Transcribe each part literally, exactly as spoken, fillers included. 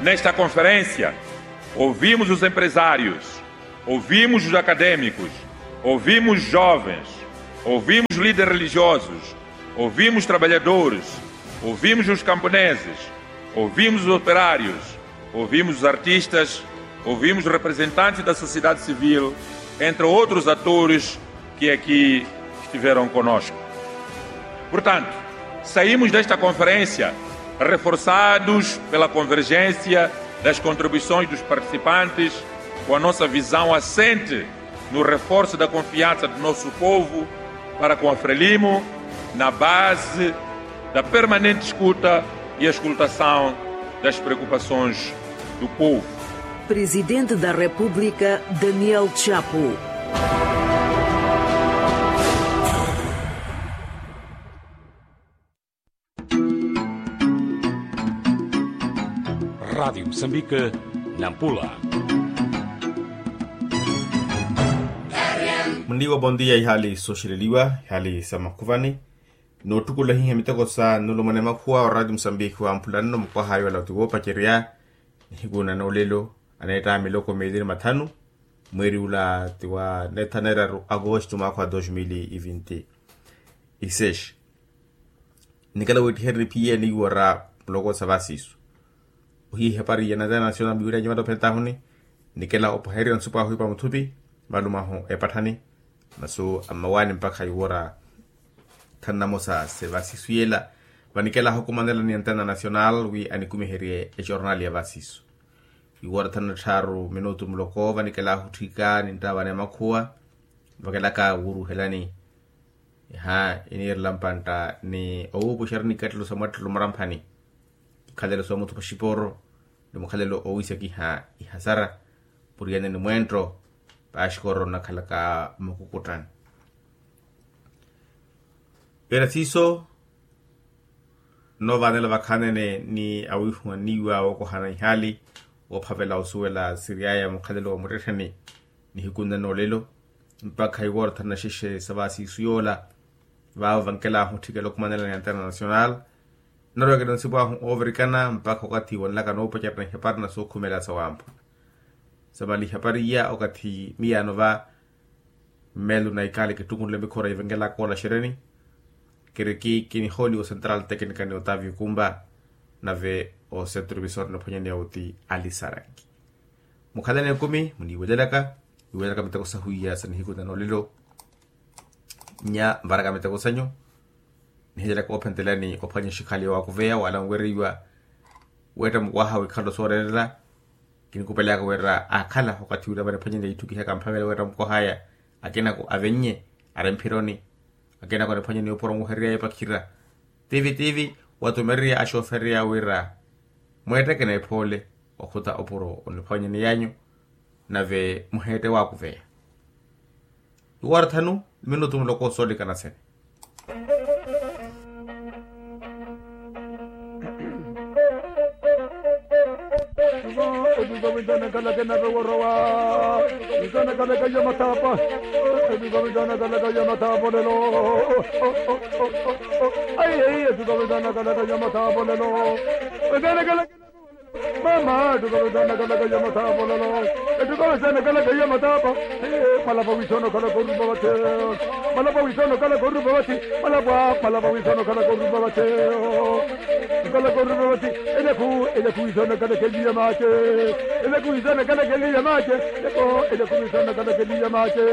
Nesta conferência, ouvimos os empresários, ouvimos os acadêmicos, ouvimos jovens, ouvimos líderes religiosos, ouvimos trabalhadores, ouvimos os camponeses, ouvimos os operários, ouvimos os artistas, ouvimos representantes da sociedade civil, entre outros atores que aqui estiveram conosco. Portanto, saímos desta conferência reforçados pela convergência das contribuições dos participantes, com a nossa visão assente no reforço da confiança do nosso povo para com a Frelimo, na base da permanente escuta e auscultação das preocupações do povo. Presidente da República, Daniel Chapo. Rádio Moçambique, Nampula. Munniiwa, bon dia. Ihaali sooxeleliwa, ihaali sa makhuvani, noottukula hiiha miteko sa nulumana emakhuwa wa Rádio Moçambique wamphula nno mukwaha ayo ala ti woopacerya. Nihiku na noolelo aneetta miloko meeli ni mathanu, mweeri ula ti wa nettha neeraru agosto mwaakha wa dos mil e vinte e seis. Nikela wiittiherye niphiye niiwara muloko sa vasiisu. Ohiya ehapari ya international miwira nyamata ophentahuni. Nikela opoherya nsupo ahu ipa muthupi, malumahu epatthani, masu ammawaani mpakha iwara tthanu namosa se vasiisu yela. Vanikela ahukumanela ni international wi anikumiherye ejornal ya vasiisu. Iwara tthanu na tthaaru minutu muloko vanikela ahutthika ninttaavana emakhuwa, vakelaka wuuruhelani. Iha iniirela mpantta ni owuupuxerya nikattelo sa mwattelo mwaramphani, ikhalelo sa muthupa xiporo ni mukhalelo owiisakiha ihasara, puriyane ni mweentto paaxikoro nnakhalaka mmukukuttani. Era siiso, nnoovanela vakhaanene ni awiihuwanniwa wookohana ihaali woophavela osuwela siriyaya mukhalelo wa muttettheni. Nihiku nne noolelo mpakha iwara tthanu na xexe sa vasiisu yoola, vaavo vankelahu otthikela okhumanela ni international. Nnaroyakela nsipu ahu oovirikana mpakha okathi wanlaka noopacerya ihapari na sookhumela sa wamphula. Samaliha pariya okathi miyaano va mmeelo na ikali kittukunle mikhora ivenkelaka ola xereni. Kiriki kinihooli o central teknika ni otavio kumba, nave o centro visor nophwanyaneya oti alisaranki. Mukhalani ekumi muniiwelelaka, iwelelaka miteko sahu iya sa nihiku na noolelo. Nya nvaraka miteko sanyu, nihilyelaka oophentelani ophwanya xikhali waakuveya wala nwereiwa. Weetta mukwaha wikhalo sooreerela. Kinikupelaka wira aakhala okathi wira vaniphwanyeni aitthu kihaka mphavela wira mukwaha aya. Akinako avennye ari mphironi. Akinako aniphwanyeni opuro muherya epakhira. Tivi tivi watumererya axoofereya wira mweetteke neephoole okhuta opuro oniphwanyeni yanyu. Nave muheette waakuveya. Iwara thanu minutu muloko soolikana sene. Mama, ettuka vetana kalaka ya mathapo lelo. Ettuka vetana kalaka ya mathapo. Malapa wiisana okhalaka orupa vathi. Malapa wiisana okhalaka orupa vathi. Malapa, malapa wiisana okhalaka orupa vathi. Okhalaka orupa vathi. Elyaku, elyaku wiisana okhalaka eliya maace. Elyaku wiisana okhalaka eliya maace. Elyaku, elyaku wiisana okhalaka eliya maace.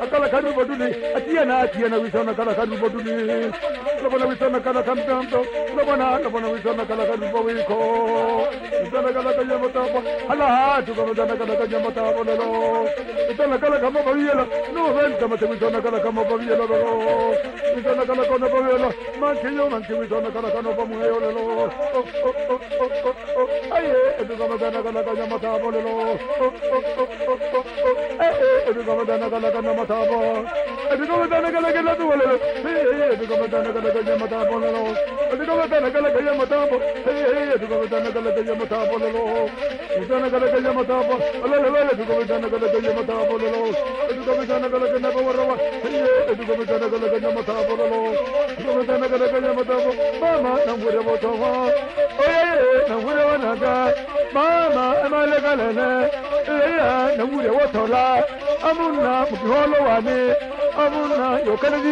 Akhalaka arupa ottuli. Atiyana, atiyana wiisana okhalaka arupa ottuli. Lopona wiisana okhalaka mpempe. Lopona, lopona wiisana okhalaka arupa wiikho. Wiisana okhalaka ya mathapo. Halaha, ettuka vetana kalaka ya mathapo lelo. Wiisana okhalaka mopaviyela. Nuvenka mate wiisana okhalaka mopaviyela lelo. Wiisana okhalaka onopaviyela. Mankhiyo, mankhi wiisana okhalaka onopamweyo lelo. Aye, ettuka vetana kalaka ya mathapo lelo. Ettuka vetana kalaka ya mathapo. Ettuka vetana kalaka ya mathapo lelo. Ettuka vetana kalaka ya mathapo lelo. Ettuka vetana kalaka ya mathapo. Ettuka vetana kalaka ya mathapo lelo. Wiisana kalaka ya mathapo. Alala vale ettuka vetana kalaka ya mathapo lelo. Ettuka vetana kalaka ya mathapo. Ettuka vetana kalaka ya mathapo lelo. Ettuka vetana kalaka ya mathapo. Mama, namwirya vothova. Oye, namwirya vana. Maama emalekalele, eya nawurya wothola amunna mukihoolo wani amunna yokhalani.